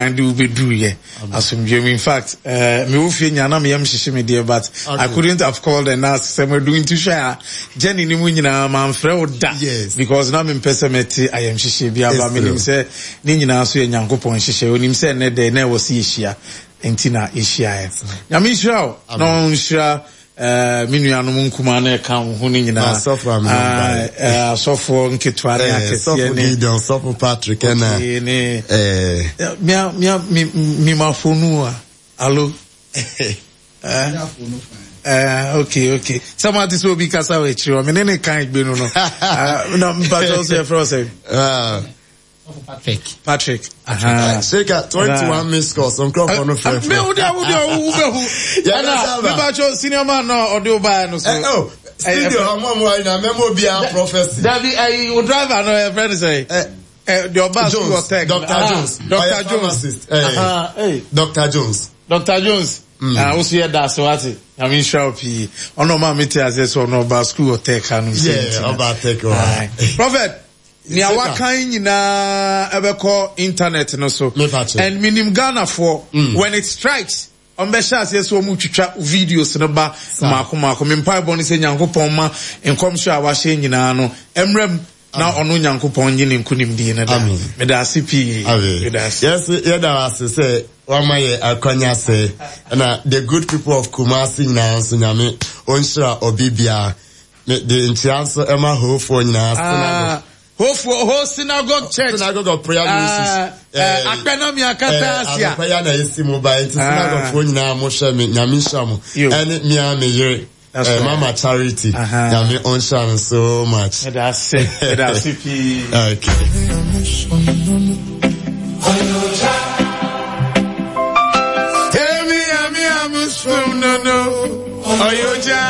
De wo bɛduruiɛ asomdwoeɛ mu. In fact, eh, mewɔ fie nyaa na meyam hyehye me deɛ but okay. I couldn't have called and asked sɛ madu nti hwɛ a journey no mu nyinaa mamfrɛ wo da yes. because na mempɛ sɛ mɛte ayamhyehyeɛ bi aba menim sɛ ne nyinaa so yɛ Nyankopɔn nhyehyɛ onim sɛ ɛnɛ dɛ na ɛwɔ sɛ yɛhyia nti na yɛhyiaeɛ. Nyame nhyira wo na ɔnhyira Eh, me nuanom nkumaa na ɛka wo ho no nyinaa. Asɔfo a ah, eh, asɔfoɔ nketewa ne eh, akɛseɛ ne. Gideon, sɔfo Patrick ɛna. Okay, ne. Eh. Mia mia mi mi ma fonu a. Alo. Eh, eh, okay, okay. Sɛ mo ate sɛ obi kasa wɔ akyiri hɔ, me ne ne kan egbe no no. Ah, na mpatɔ so yɛfrɛ wo sɛ. Ah. Patrick. Patrick. Seka 21 missed calls. Nkurɔfoɔ no frɛfrɛ. Me wo deɛ wo deɛ wo bɛ hu. Ɛna me ba kyɛw senior man na ɔde wo baeɛ no so. Eh, oh, studio ɔmo ɔmo ayi na mɛmo obiara prophecy. Dabi ayi wo driver no ɛ fɛ ne sɛ. Ɛ deɛ ɔba school of tech. Dr. Jones. Dr. Jones. Dr. Jones. Dr. Jones. Ah, wo so yɛ da ase wate. Nyame nhyira wo pii. Ɔno ɔma me te aseɛ sɛ ɔno ɔba school of tech ha no. Yeah, ɔba tech hɔ. Prophet. Nea wakan nyinaa ɛbɛkɔ internet no so. And menim Ghanafoɔ, mm. when it strikes, wɔn bɛhyɛ aseɛ sɛ wɔn twitwa videos no ba mmaako mmaako. Me mpaebɔ no sɛ Nyankopɔn ma nkɔmhyɛ a wahyɛ nyinaa no mmerɛ mu na ɔno Nyankopɔn nye ne nkonimdie no da. Meda ase pii. Meda ase. Yes, yɛda ase sɛ wama yɛ akwanya sɛ na the good people of Kumasi nyinaa nso Nyame ɔnhyira ɔbi biara. Me de nkyia nso ɛma Hofoɔ nyinaa ah, synagogue. Hofoɔ Ho Synagogue Church. Synagogue of Prayer ah, Ministries. Eh, Akpɛnami akata asia. Anɔpa ya na esi mu ba nti ah. synagogue foɔ nyinaa mo hwɛ me nyame nhyira mo. Ɛne mia me yere. Eh, Mama Charity. Nyame ɔnhyira no so much. Ɛda ase, ɛda ase pii. Okay. Emi ami ami sum no no. Oyoja.